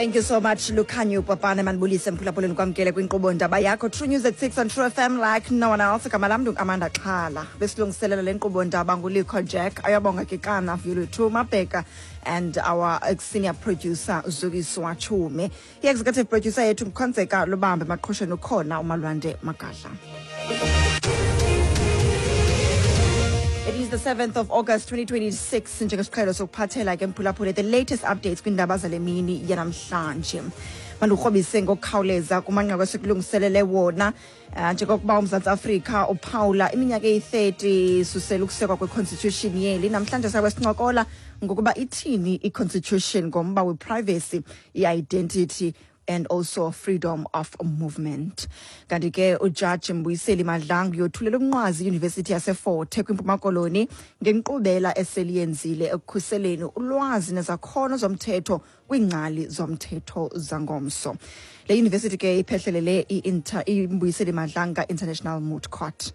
Thank you so much, Lukhanyo Papane. Manibulise mphulaphuleni, kwamkele kwinkqubo ndaba yakho True News at 6 on True FM like no one else. Igama lam Amanda Xhala. Besilungiselela le nkqubo ndaba nguLikho Jack. Ayabonga ke kana Vuyolwethu Mabheka and our senior producer Zukiswa Chume. I-executive producer yethu nguKhonzeka Lubambe, maqhosheni ukhona uMalwande Magadla. It is the 7th of August 2026. Njengesiqhelo sokuphathela ke mphulaphule the latest updates kwiindaba zale mini yanamhlanje. Mandikrobise ngokukhawuleza kumanqaku esikulungiselele wona, njengokuba uMzantsi Afrika uphawula iminyaka eyi-30 susela ukusekwa kwe-constitution yeli. Namhlanje sabe sincokola ngokuba ithini i-constitution ngomba we-privacy, i-identity and also freedom of movement. Kanti ke uJaji Mbuyiseli Madlanga uyothulela umnqwazi iYunivesithi yaseFort kwiMpuma Koloni ngenkqubela eseliyenzile ekukhuseleni ulwazi nezakhono zomthetho kwiingcali zomthetho zangomso. Le yunivesithi ke iphehlelele iMbuyiseli Madlanga International Moot Court.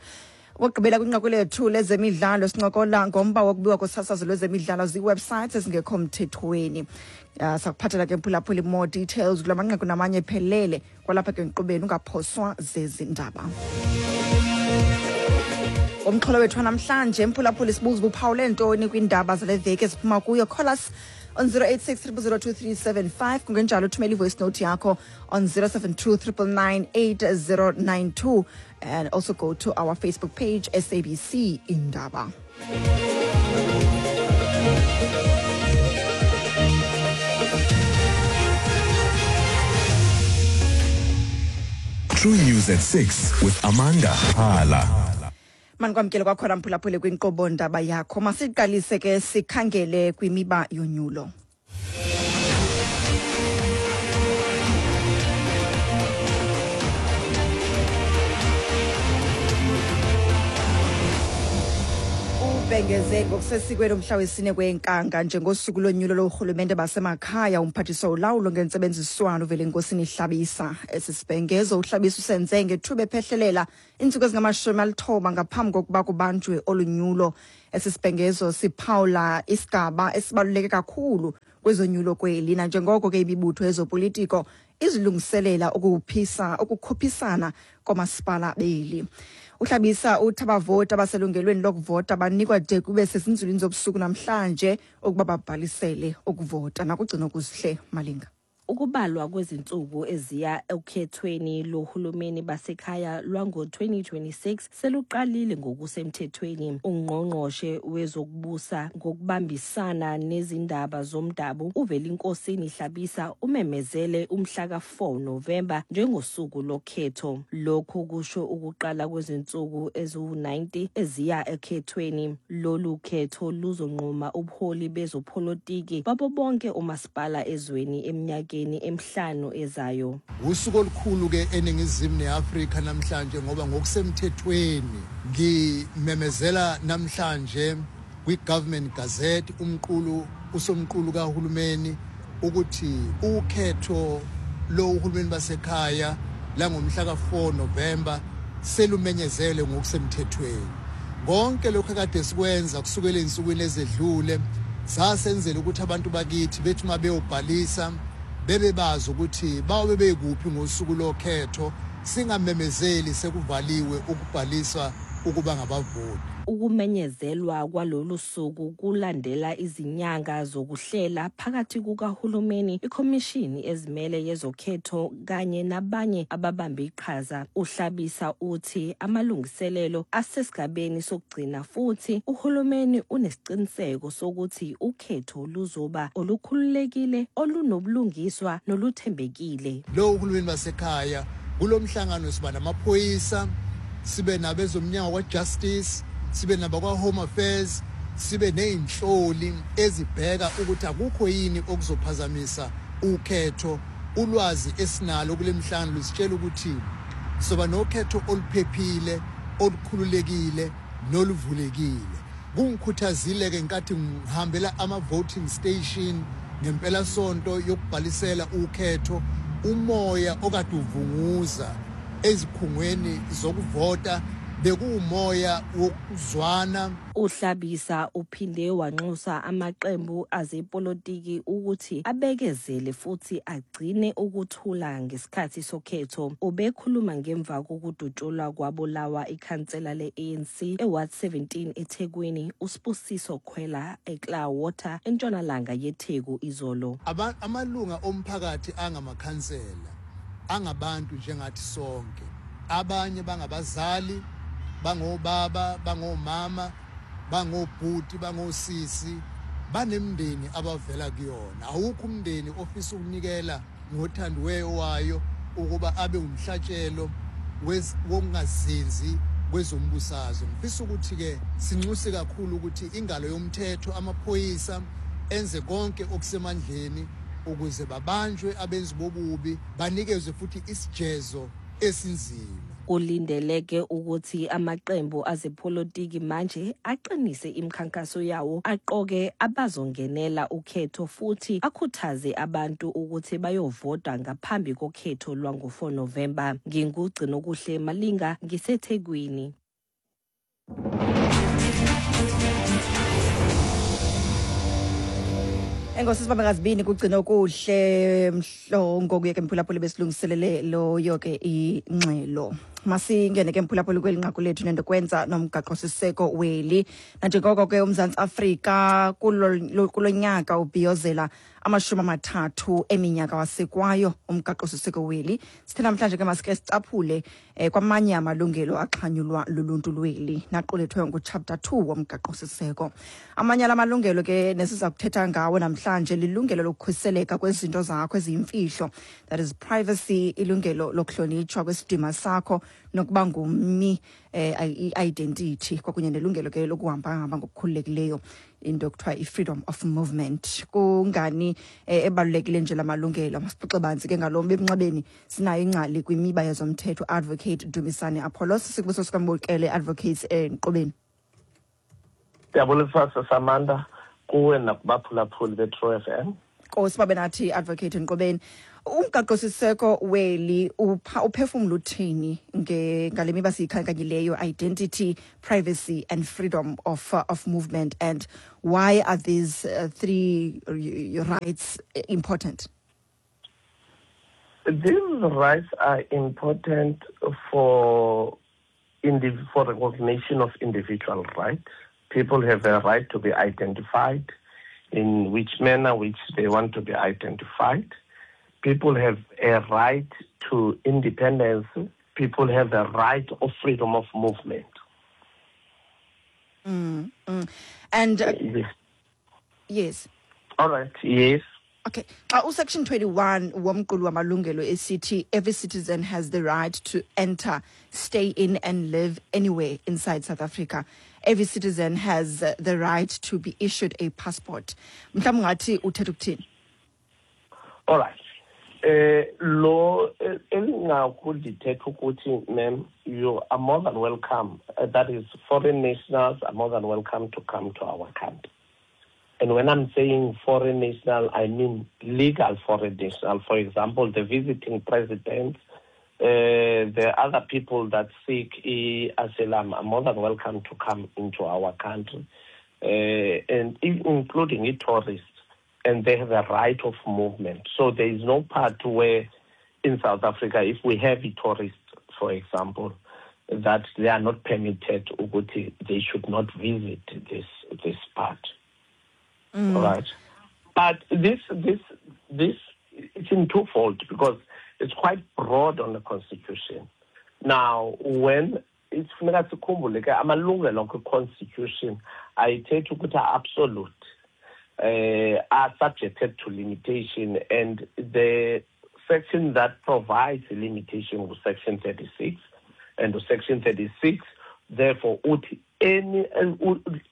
Okokugqibela kwinqaku lethu lezemidlalo sincokola ngomba wokubiwa kosasazo lwezemidlalo zii-websites ezingekho mthethweni. Sakuphathela ke mphulaphuli more details kula manqaku namanye phelele kwalapha ke nkqubeni, ungaphoswa zezi ndaba. Umxholo wethu wanamhlanje mphulaphuli sibuza ubuphawule ntoni kwiindaba zale veki eziphuma kuyo. Call us on 086 0002375, kungenjalo uthumela i-voice note yakho on 072 999 8092 and also go to our Facebook page, SABC Indaba. True News at 6 with Amanda Hala. Manikwamkele kwakhona mphulaphuli kwinkqubo ndaba yakho. Masiqalise ke sikhangele kwimiba yonyulo. Ubhengeze ngokusesikweni umhla wesine kweNkanga njengosuku lonyulo lorhulumente basemakhaya umphathiswa ulawulo ngentsebenziswano Velenkosini Hlabisa. Esi sibhengezo uHlabisa usenze ngethuba ephehlelela iintsuku ezingama-90 ngaphambi kokuba kubanjwe olunyulo. Esi sibhengezo siphawula isigaba esibaluleke kakhulu kwezonyulo kweli, nanjengoko ke imibutho yezopolitiko izilungiselela ukukhuphisana komasipala beli. Uhlabisa uthi abavoti abaselungelweni lokuvota banikwa de kube sezinzulwini zobusuku namhlanje ukuba babhalisele ukuvota. Nakugcina kuzihle Malinga. Ukubalwa kwezinsuku eziya okhethweni lohulumeni basekhaya lwango-2026 seluqalile ngokusemthethweni. Ungqongqoshe wezokubusa ngokubambisana nezindaba zomdabu uVelenkosini Hlabisa umemezele umhla ka-4 Novemba njengosuku lokhetho. Lokhu kusho ukuqala kwezinsuku eziwu-90 eziya ekhethweni. Lolu khetho luzonquma ubuholi bezopolitiki babo bonke omasipala ezweni eminyakeni emihlanu ezayo. Usuku olukhulu ke eNingizimu neAfrika namhlanje, ngoba ngokusemthethweni ngimemezela namhlanje kwi-Government Gazette, umqulu usomqulu kahulumeni, ukuthi ukhetho lo uhulumeni basekhaya langomhla ka-4 November selumenyezelwe ngokusemthethweni. Konke lokho akade sikwenza kusukela ezinsukwini ezedlule sasenzela ukuthi abantu bakithi bethi uma beyobhalisa bebe bazi ukuthi bayobe bekuphi ngosuku lokhetho, singamemezeli sekuvaliwe ukubhaliswa ukuba ngabavoti. Ukumenyezelwa kwalolu suku kulandela izinyanga zokuhlela phakathi kukahulumeni, ikhomishini ezimele yezokhetho kanye nabanye ababambe iqhaza. Uhlabisa uthi amalungiselelo asesigabeni sokugcina futhi uhulumeni unesiqiniseko sokuthi ukhetho luzoba olukhululekile, olunobulungiswa noluthembekile. Lo uhulumeni basekhaya, kulo mhlangano siba namaphoyisa, sibe nabezomnyango kwa-justice, sibe nabakwa-home affairs, sibe ney'nhloli ezibheka ukuthi akukho yini okuzophazamisa ukhetho. Ulwazi esinalo kule mhlangano lusitshela ukuthi soba nokhetho oluphephile, olukhululekile noluvulekile. Kungikhuthazile-ke nkathi ngihambela ama-voting station ngempelasonto yokubhalisela ukhetho, umoya okade uvunguza ezikhungweni zokuvota. Bekuwumoya wokuzwana. Uhlabisa uphinde wanxusa amaqembu azepolitiki ukuthi abekezele futhi agcine ukuthula ngesikhathi sokhetho. Ubekhuluma ngemva kokudutshulwa kwabulawa ikhansela le-ANC eWard 17 eThekwini, uSibusiso Khwela, eClarwater, entshonalanga yeTheku izolo. Amalunga omphakathi angamakhansela angabantu njengathi sonke. Abanye bangabazali, bangobaba, bangomama, bangobhuti, bangosisi, banemindeni abavela kuyona. Awukho umndeni ofisa ukunikela ngothandiweyo wayo ukuba abe umhlatshelo wokungazinzi kwezombusazwe. Ngifisa ukuthi-ke sinxuse kakhulu ukuthi ingalo yomthetho, amaphoyisa, enze konke okusemandleni ukuze babanjwe abenzi bobubi, banikezwe futhi isijezo esinzima. Kulindeleke ukuthi amaqembu azepolitiki manje aqinise imikhankaso yawo, aqoke abazongenela ukhetho futhi akhuthaze abantu ukuthi bayovota ngaphambi kokhetho lwango-4 Novemba. NginguGcinokuhle Malinga, ngiseThekwini. Enkosi sibambe ngazibini kugcina okuhle mhlongo kuye ke mphulaphuli besilungiselele loyo ke ingxelo. Masingene ke mphulaphuli kweli nqaku lethu nento kwenza nomgaqo-siseko weli. Nanjengoko ke uMzantsi Afrika kulo nyaka ubhiyozela 30 eminyaka wasekwayo umgaqo-siseko weli, sithe namhlanje ke masike sicaphule kwamanye amalungelo axhanyulwa luluntu lweli naqulethwe nguchapter 2 womgaqo-siseko. Amanye ala malungelo ke nesiza kuthetha ngawo namhlanje lilungelo lokukhuseleka kwezinto zakho eziyimfihlo, that is privacy, ilungelo lokuhlonitshwa kwesidima sakho nokuba ngummi, i-identity, kwakunye nelungelo ke lokuhamba-hamba ngokukhululekileyo, into kuthiwa i-freedom of movement. Kungani ebalulekile nje la malungelo? Masixoxe banzi ke ngalo mba. Emnxebeni sinayo ingcali kwimiba yezomthetho, Advocate Dumisani Apollos. Sikubuso sikwamukele, Advocate, enkqubeni. Ndiyabulisa, Samantha, kuwe nakubaphulaphuli be-True FM. Nkosi babe nathi, Advocate Nqobeni. Umgaqo-siseko weli uphefumla uthini ngale miba siyikhankanyileyo, identity, privacy and freedom of movement, and why are these three rights important? These rights are important for recognition of individual rights. People have a right to be identified in which manner which they want to be identified. People have a right to independence. People have a right of freedom of movement. And Yes. Yes. All right. Yes. Okay. Xa usection 21 womqulu wamalungelo esithi every citizen has the right to enter, stay in and live anywhere inside South Africa. Every citizen has the right to be issued a passport. Mhlawumbi ungathi uthetha ukuthini? All right. Lo elingaku lithetha ukuthi, ma'am, you are more than welcome. That is, foreign nationals are more than welcome to come to our country. And when I'm saying foreign national, I mean legal foreign national. For example, the visiting presidents, the other people that seek asylum are more than welcome to come into our country, and including tourists, and they have a right of movement. So there is no part where in South Africa, if we have a tourist, for example, that they are not permitted, ukuthi they should not visit this part. All right. But this it's in twofold because it's quite broad on the constitution. Now, when it's funeka sikhumbule ke amalungelo kwi-constitution ayithethi ukuthi are absolute, are subjected to limitation, and the section that provides a limitation was section 36, and the section 36 therefore uthi any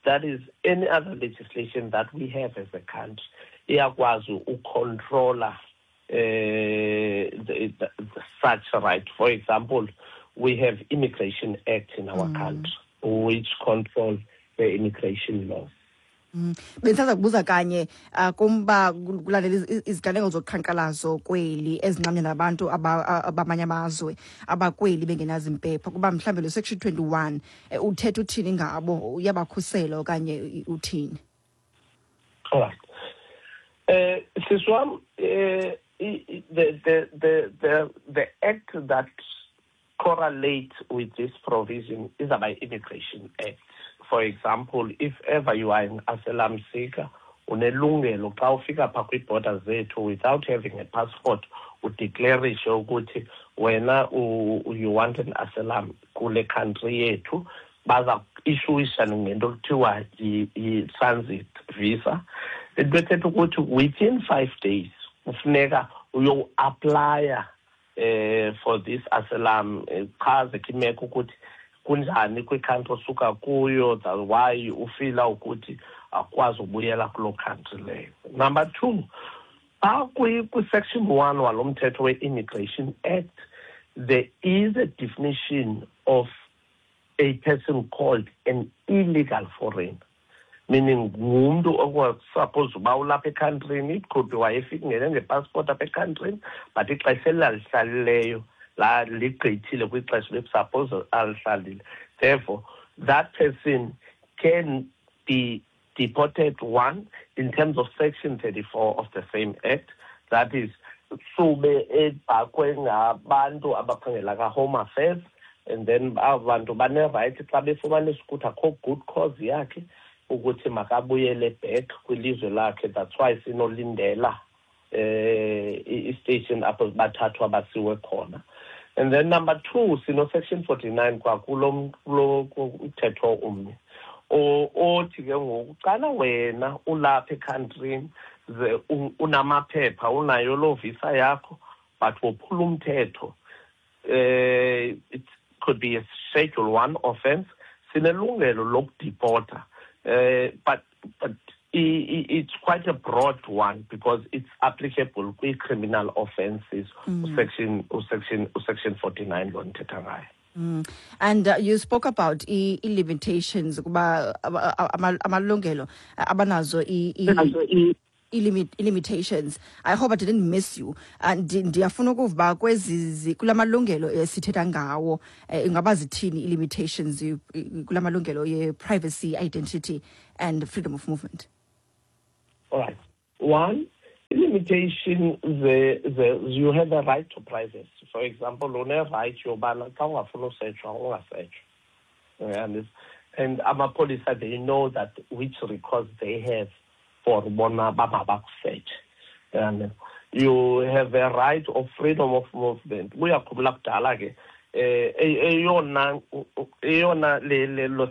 that is any other legislation that we have as a country iyakwazi ucontrola the such right. For example, we have Immigration Act in our country, which control the immigration laws. Bendisaza kubuza kanye kumba kulandela iziganeko zoqhankqalazo kweli ezinxamnye nabantu abamanye amazwe abakweli bengenazimpepha, kuba mhlawumbi lo section 21 uthetha uthini ngabo, uyabakhusela okanye uthini? Alright. Sisi wam, the act that correlates with this provision is about Immigration Act. For example, if ever you are an asylum seeker, unelungelo xa ufika phaa kwii-border zethu without having a passport, udeclarishe ukuthi wena you want an asylum kule country yethu, baza issuisha ngento kuthiwa yi-transit visa. Into ethetha ukuthi within 5 days kufuneka uyoapplya for this asylum, chaze ke imeko ukuthi kunjani kwicountry osuka kuyo, that why ufeela ukuthi akwazi ubuyela kuloo country leyo. Number two, phaa kwi-section 1 walo mthetho we-Immigration Act, there is a definition of a person called an illegal foreigner, meaning ngumntu okusuppose uba ulapha ecountrini. It could be wayefika ngene ngepassport apha ecountrini, but ixesha elalihlalileyo la ligqithile kwixesha bekusuppose alihlalile. Therefore that person can be deported, one, in terms of section 34 of the same act, that is sube ebhakwe ngabantu abaphangela ka-Home Affairs, and then abo bantu banerayithi xa befumanisa ukuthi akho good cause yakhe ukuthi makabuyele back kwilizwe lakhe. That's why sinolindela i-station apho bathathwa basiwe khona. And then number two, sino section 49 kwakulo kulo mthetho umnye othi ke ngoku xana wena ulapha ecountrini ze unamaphepha, unayo loo visa yakho, but wophula umthetho, it could be a schedule 1 offense, sinelungelo lokudeporta, but it's quite a broad one because it's applicable kwi-criminal offences, usection 49 lo ndithetha ngayo. And you spoke about i-limitations kuba amalungelo abanazo i-limitations. I hope I didn't miss you. Ndiyafuna ukuva kwezi kula malungelo esithetha ngawo, ingaba zithini i-limitations kula malungelo ye-privacy, identity and freedom of movement? All right. One limitation, the you have a right to privacy. For example, une-right yobana xa ungafuni usetshwa ungasetshwa. And amapolisa, they know that which records they have for bona bamabakusetshe. And you have a right of freedom of movement. Uyakhumbula kudala ke, eyona le lo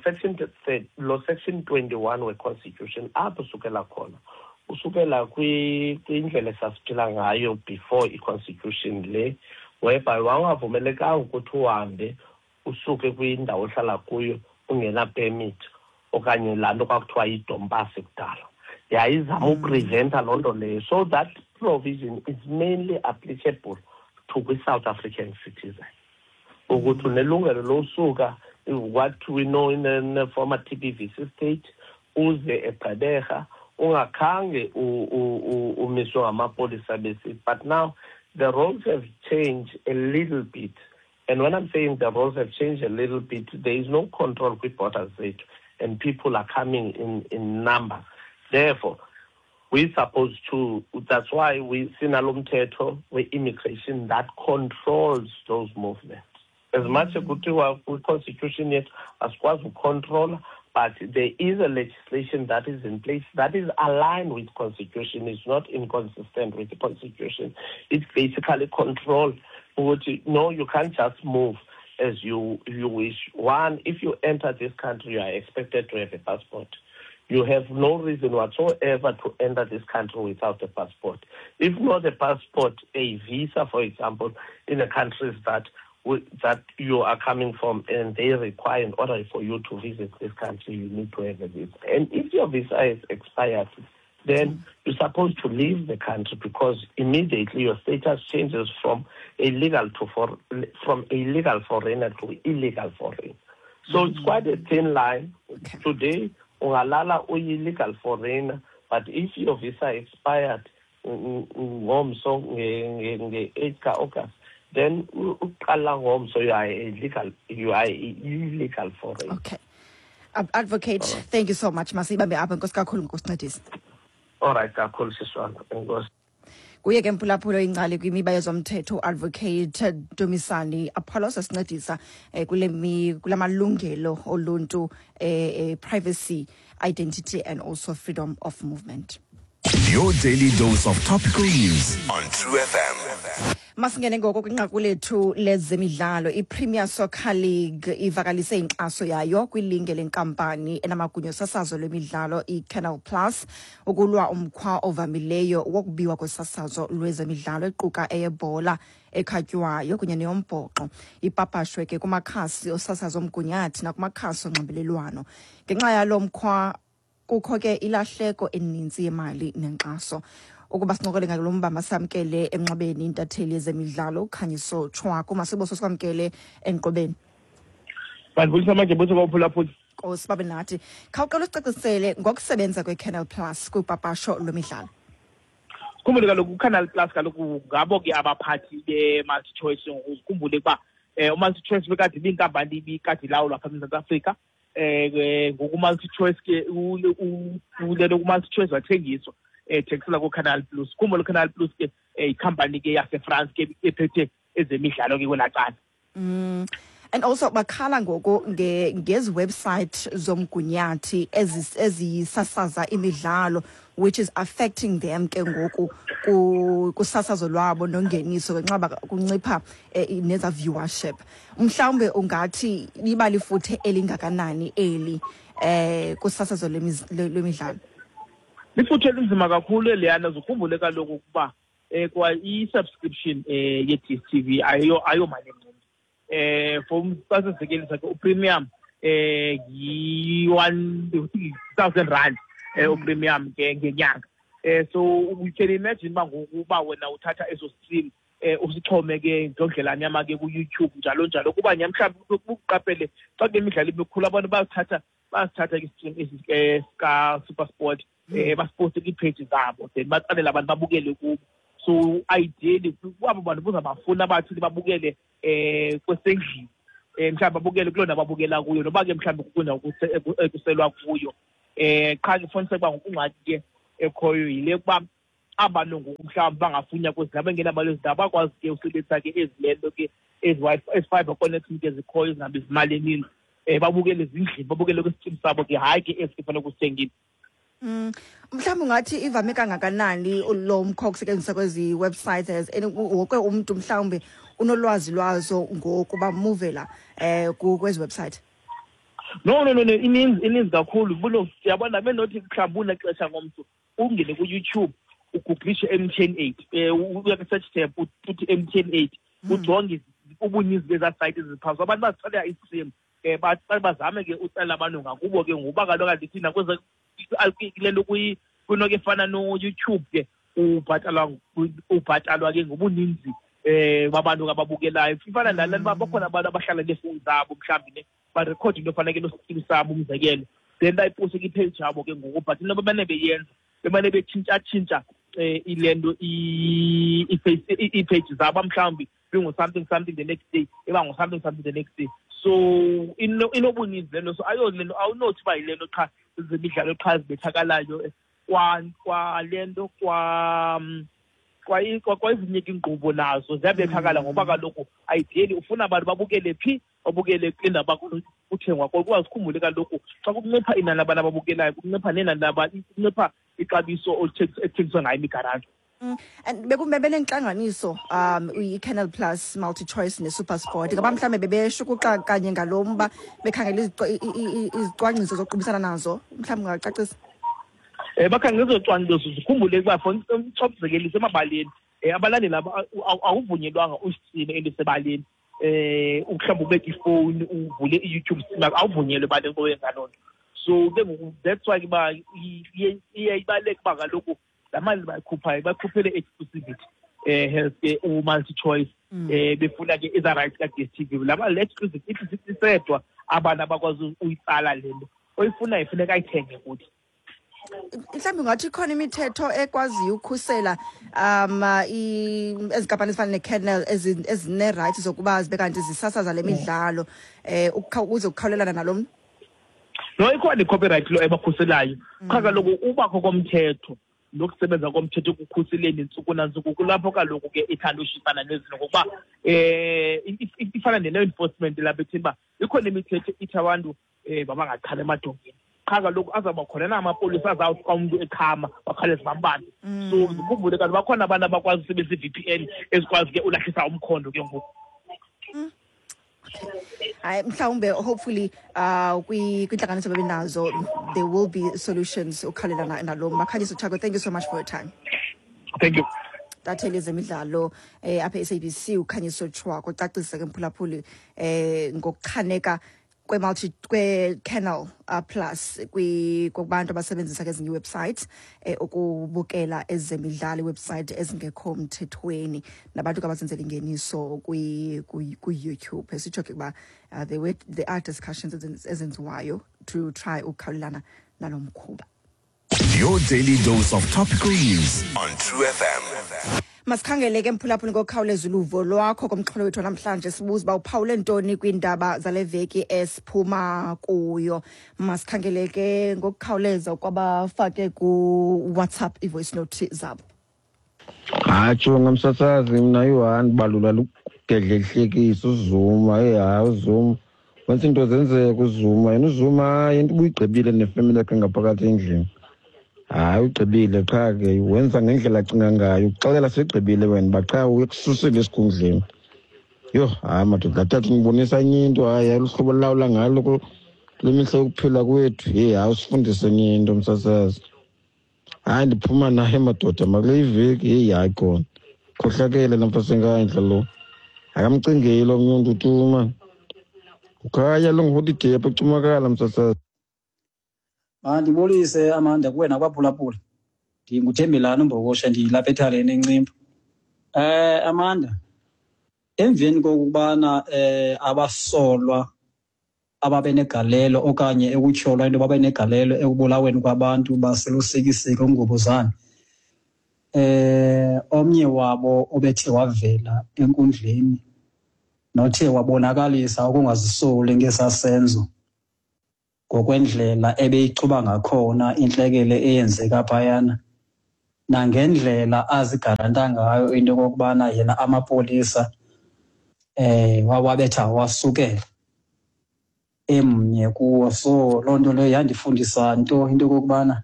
section 21 we-constitution, apho usukela khona, usukela kwindlela esasiphila ngayo before i-constitution le, whereby wawungavumelekanga ukuthi uhambe usuke kwindawo ohlala kuyo ungena-permit okanye laa nto kwakuthiwa yidompasi kudala. Yayizama upreventa loo nto leyo. So that provision is mainly applicable to kwi-South African citizen, ukuthi unelungelo losuka what we know in the former TBVC state uze eGqeberha ungakhange umiswe ngamapolisa besithi. But now the roles have changed a little bit, and when I'm saying the roles have changed a little bit, there is no control kwii-borders zethu and people are coming in numbers. Therefore we supposed to, that's why we sinalo mthetho we-immigration that controls those movements. As much as kuthiwa kwi-constitution yethu asikwazi ukucontrola, but there is a legislation that is in place that is aligned with constitution. It's not inconsistent with the constitution. It basically control ukuthi no, you can't just move as you wish. One, if you enter this country, you are expected to have a passport. You have no reason whatsoever to enter this country without a passport. If not a passport, a visa, for example, in the countries that you are coming from, and they require in order for you to visit this country, you need to have a visa. And if your visa is expired, then you're supposed to leave the country, because immediately your status changes from a legal foreigner to illegal foreigner. So it's quite a thin line. Today, Ungalala uyi-legal foreigner, but if your visa expired ngomso nge-8 ka-August, then uqala ngomso you are a illegal foreigner. Okay, Advocate, thank you so much. Masibambe apha. Enkosi kakhulu ngokusincedisa. All right kakhulu, siswana, enkosi. Kuye ke, mphulaphula, ingcali kwimiba yezomthetho, Advocate Dumisani Apollos, asincedisa kula malungelo oluntu, privacy, identity and also freedom of movement. Your daily dose of topical news on True FM. Masingene ngoko kwinqaku lethu lezemidlalo. I-Premier Soccer League ivakalise inkxaso yayo kwilinge lenkampani enamagunya osasazo lwemidlalo i-Canal Plus ukulwa umkhwa ovamileyo wokubiwa kwesasazo lwezemidlalo, equka eyebhola ekhatywayo kunye neyombhoxo, ipapashwe ke kumakhasi osasazo omgunyathi nakumakhasi onxibelelwano. Ngenxa yalo mkhwa kukho ke ilahleko eninzi yemali nenkxaso. Ukuba sincokole ngalo mba, masamkele emnxebeni intatheli yezemidlalo uKhanyiso Tshwaku. Masiboso, sikwamkele enkqubeni. Bandibulisa manje buthi kwaphulaphula. Nkosi babe nathi. Khawuqala usicacisele ngokusebenza kwe-Canal Plus kwipapasho lwemidlalo. Khumbule kaloku, uCanal Plus kaloku ngabo ke abaphathi be-MultiChoice. Ukhumbule ukuba uMultiChoice bekade ibinkampani ibikade ilawulwa apha eMzantsi Afrika. Ngoku uMultiChoice ke ulelo uMultiChoice wathengiswa, ethengisela kuCanal Plus. Khumbule, uCanal Plus ke yikhampani ke yaseFrance ke ephethe ezemidlalo ke kwelaa cala. And also bakhala ngoku ngezi website zomgunyathi ezisasaza imidlalo, which is affecting them ke ngoku kusasazo lwabo nongeniso ngenxa kuncipha neza viewership. Mhlawumbe ungathi liba lifuthe elingakanani eli kusasazo lwemidlalo? Lifuthe elinzima kakhulu eliyana. Zukhumbule kaloku ukuba kwa i-subscription ye-DStv ayo mali encinci. For xa sizekelisa ke, upremium yi-R1,000 upremium ke ngenyanga. So you can imagine uba ngoku uba wena uthatha eso stream usixhome ke ngendlela nyama ke ku-YouTube, njalo njalo, kuba nya mhlawumbi uqaphele xa kunemidlalo emikhulu, abantu bayasithatha ke istream esi sika-SuperSport, basiposte kwiipheji zabo, then batsalela abantu babukele kubo. So ideally kwabo bantu buzabafuna abathile babukele kwesendlini, mhlawumbi babukele kuloo ndawo babukela kuyo, noba ke mhlawumbi kukwindawo ekuselwa kuyo. Qha ke funiseka uba ngokungxaki ke ekhoyo yile yokuba abantu ngoku mhlawumbi bangafunya kwezi ndawo bengenabalo ezi ndawo, bakwazi ke usebenzisa ke ezi le nto ke ezi fiber connection ke zikhoyo zingabizi imali eninzi, babukele ezindlini, babukele kwisitrim sabo ke, hayi ke esi ke fanele kusithengile. Mhlawumbi ungathi ivame kangakanani lo mkhwa wokusetyenziswa kwezi websites, as and wonke umntu mhlawumbi unolwazi lwazo ngoku bamuvela kwezi website? No, ininzi kakhulu. Bulo siyabona benothi mhlawumbi unexesha ngomntu ungene ku-YouTube, ugooglishe MTN 8, uya kwi-search tab, uthi MTN 8, ujonge ubuninzi bezaa site eziphantsi. Abantu bazithalela istream, bazame ke utsala abantu ngakubo ke, ngoba kaloku andithi nakweze kule nto kwinto ke efana no-YouTube ke ubhatalwa ke ngobuninzi babantu ababukelayo. Ifana nale nto uba bakhona abantu abahlala neefowuni zabo, mhlawumbi ne barekhode into efana ke nostream sabo, umzekelo, then bayiposte kwipage yabo ke ngoku. But into bemane beyenza, bemane betshintshatshintsha ile nto iipage zabo, mhlawumbi bingu-something something the next day, iba ngu-something something the next day. So inobuninzi le nto. So ayo le nto, awunothi uba yile nto qha zemidlalo qha zibethakalayo, kwa le nto kwa kwezinye ke iinkqubo nazo ziyabethakala, ngoba kaloku ideally ufuna abantu babukele phi? Babukele kule ndawo kuthengwa kuyo. Kuba sikhumbule kaloku, xa kuncipha inani labantu ababukelayo, kuncipha nenani kuncipha ixabiso ekuthengiswa ngayo imigaranto. And bekume benentlanganiso i-Canal Plus, MultiChoice ne-SuperSport. Ngaba mhlawumbe bebeshukuxa kanye ngalo mba, bekhangela izicwangciso zokuqubisana nazo? Mhlawumbi ungacacisa. Bakhangela ezocwangciso. Zikhumbule ukuba, for xa umzekeliso emabaleni, abalandeli awuvunyelwanga usitrime into esebaleni. Mhlawumbi ubeke ifowuni uvule i-YouTube stream, awuvunyelwe ebaleni koyenza loo nto. So ke ngoku that's why ke uba iye ibaluleke uba kaloku laa mali bayikhuphayo bakhuphele exclusivity health ke u-MultiChoice, befuna ke eza rights ka-DStv. Laa mali le exclusive ithi isedwa abantu abakwazi uyitsala le nto. Oyifunayo ifuneka ayithenge kuthi. Mhlawumbi ungathi ikhona imithetho ekwaziyo ukukhusela ezi nkampani ezifana neCanal ezinee-rights zokuba zibe kanti zisasaza le midlalo ukuze kukhawulelana nalo mntu? No, ikhona i-copyright law ebakhuselayo. Qha kaloku ubakho komthetho nokusebenza komthetho ekukhuseleni ntsuku nantsuku, kulapho kaloku ke ithanda ushipana nezinto, ngokuba ifana ne-law enforcement lapha etheni uba ikhona imithetho ithi abantu mabangachami emadongeni. Qha kaloku azawuba khona na amapolisa azawuthi xa umntu echama bakhawuleze bambambe? So zikhumbule kanti bakhona abantu abakwazi usebenzisa i-VPN ezikwazi ke ulahlisa umkhondo ke ngoku. Hayi, mhlawumbe hopefully kwintlanganiso bebenazo there will be solutions ukhawulelana nalo. Makhanyiso Chako, thank you so much for your time. Thank you. Tatheli zemidlalo apha e-SABC uKhanyiso Tshwako ucacisa ke, mphulaphuli, ngokuchaneka kwe-multi kwe-Canal Plus kubantu abasebenzisa ke ezinye ii-websites ukubukela ezemidlalo, iiwebsite ezingekho mthethweni, nabantu ke abazenzela ingeniso kwi-YouTube. Esitsho ke ukuba there are discussions ezenziwayo to try ukukhawulelana nalo mkhuba. Your daily dose of topical news on True FM. Masikhangele ke, mphulaphuli, ngokukhawuleza uluvo lwakho komxholo wethu namhlanje. Sibuza uba uphawule ntoni kwiindaba zale veki esiphuma kuyo. Masikhangele ke ngokukhawuleza kwabafake kuWhatsApp i-voice note zabo. Hatsho ngamsasazi, mna yi-one balula lugedlehlekisa uZuma. Eyi hayi, uZuma wenza into zenzeka. UZuma yena, uZuma, hayi, into ubuyigqibile nefemeli yakhe ngaphakathi endlini. Hayi, ugqibile qha ke, wenza ngendlela acinga ngayo. Uxelela segqibile wena uba qha uyekususile esikhundleni. Yho, hayi madoda, tata ndibonisa enye into. Hayi, hayi, luhlobo lulawula ngalo kule mihla yokuphila kwethu. Heyi hayi, usifundise enye into, msasazi. Hayi, ndiphuma naye madoda makule iveki. Heyi hayi, khona khohlakele namfasenkandla lo, akamcingeli omnye umntu tu mani. Ukhaya lo ngeholiday apha eCumakala, msasazi. Mandibulise, Amanda, kuwe nakwaphulaphula. NdinguThembelani uMbokoshe, ndilapha ethaleni eNcimba. Amanda, emveni kokubana abasolwa ababenegalelo okanye ekutyholwa into babenegalelo ekubulaweni kwabantu baseLusikisiki uNgubuzane, omnye wabo obethe wavela enkundleni nothe wabonakalisa ukungazisoli ngesaa senzo ngokwendlela ebeyichuba ngakhona intlekele eyenzeka phayana, nangendlela azigaranta ngayo into yokokubana yena amapolisa wawabetha wasukela emnye kuwo. So loo nto leyo yandifundisa nto into yokokubana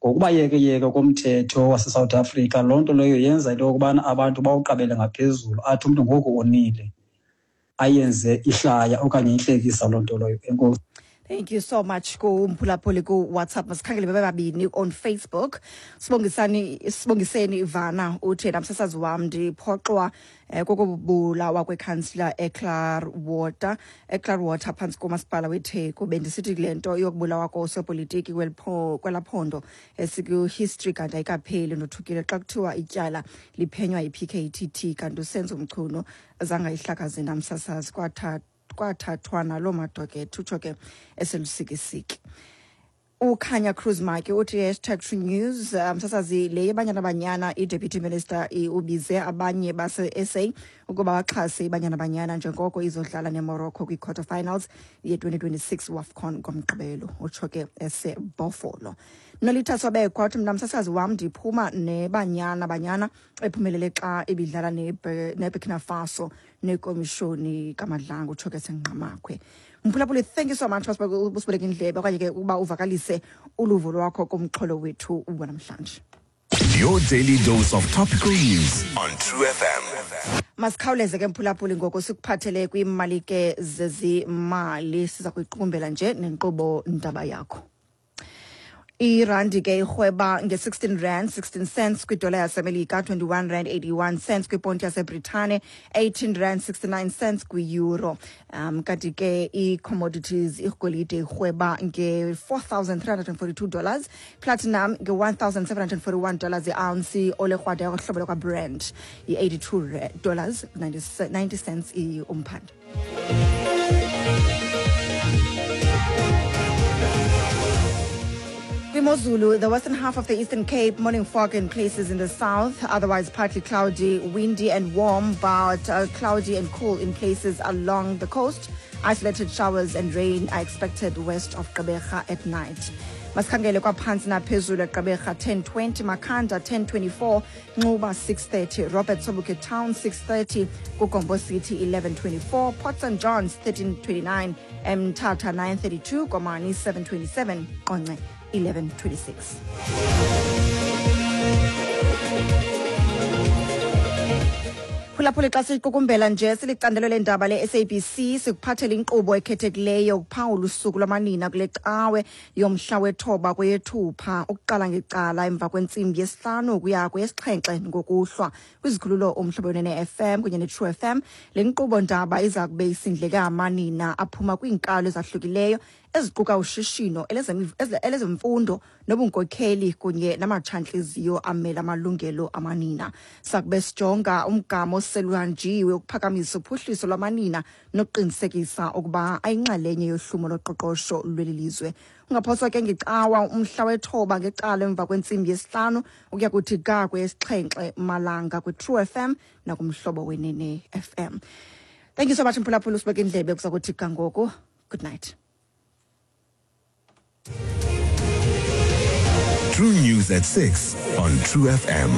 ngokuba yekeyeke komthetho waseSouth Africa, loo nto leyo yenza into yokubana abantu bawuqabele ngaphezulu, athi umntu ngoku onile ayenze ihlaya okanye intlekisa loo nto leyo. Enkosi. Thank you so much kumphulaphuli ku-WhatsApp. Masikhangele bebe babini on Facebook. Sibongisani, Sibongiseni Ivana uthi, "Namsasazi wam, ndiphoxwa kokubulawa kwekhansila eClarwater phantsi komasipala weTheku. Bendisithi kule nto yokubulawa kosopolitiki kwelaa phondo esiku-history, kanti ayikapheli. Ndothukile xa kuthiwa ityala liphenywa yi-PKTT, kanti uSenzo Mchunu zangayihlakaze namsasazi, kwathathwa naloo madokethi," utsho ke eseLusikisiki. UKhanya Cruz Maki uthi, #TrueNews, msasazi, le yeBanyana Banyana, i-deputy minister ubize abanye base-SA ukuba baxhase iBanyana Banyana njengoko izodlala neMorocco kwi-quarter finals ye-2026 WAFCON ngoMgqibelo, utsho ke eseBhofolo. Nolitha Sobekwa uthi, "Mna msasazi wam, ndiphuma neBanyana Banyana ephumelele xa ibidlala neBurkina Faso nekomishoni kaMadlanga," utsho ke seNgqamakhwe. Mphulaphuli, thank you so much usibeleke indlebe okanye ke ukuba uvakalise uluvo lwakho kumxholo wethu wanamhlanje. Your daily dose of topical news on True FM. Masikhawuleze ke, mphulaphuli, ngoku sikuphathele kwiimali ke zezimali. Siza kuyiqukumbela nje nenkqubo ndaba yakho. Irandi ke irhweba nge-16 rand 16 cents kwidola yaseMelika, 21 rand 81 cents kwiponti yaseBritane, 18 rand 69 cents kwi-euro. Kanti ke i-commodities, igolide irhweba nge-$4,342, platinum nge-$1,741 i-ounce, olekrwada yohlobo lwakwaBrent yi-82 dollars 90 cents umphanda. Kwimozulu, the western half of the Eastern Cape, morning fog in places in the south, otherwise partly cloudy, windy and warm, but cloudy and cool in places along the coast. Isolated showers and rain are expected west of Gqeberha at night. Masikhangele kwaphantsi naphezulu eGqeberha 1020, Makhanda 1024, Nxuba 630, Robert Sobukwe Town 630, Kugombo City 1124, Port St Johns 1329, Mthatha 932, Komani 727, Qonce 1126. Phulaphula, xa siqukumbela nje silicandelo leendaba le-SABC, sikuphathela inkqubo ekhethekileyo ukuphawula usuku lwamanina kule cawe yomhla wethoba kweyeThupha, ukuqala ngecala emva kwentsimbi yesihlanu ukuya kweyesixhenxe ngokuhlwa kwizikhululo Umhlobo Wenene FM kunye neTrue FM. Le nkqubo ndaba iza kube isindleke amanina aphuma kwiinkalo ezahlukileyo eziquka ushishino, elezemfundo nobunkokheli kunye namatshantliziyo amela amalungelo amanina. Sakube sijonga umgama oseluhanjiwe ukuphakamisa uphuhliso lwamanina nokuqinisekisa ukuba ayinxalenye yohlumo loqoqosho lweli lizwe. Ungaphoswa ke ngecawa umhla wethoba ngecala emva kwentsimbi yesihlanu ukuya kuthi ga kweyesixhenxe malanga kwiTrue FM nakuMhlobo Wenene FM. Thank you so much, mphulaphula, usibeke indlebe kuza kuthi ga ngoku. Good night. True News at 6 on True FM.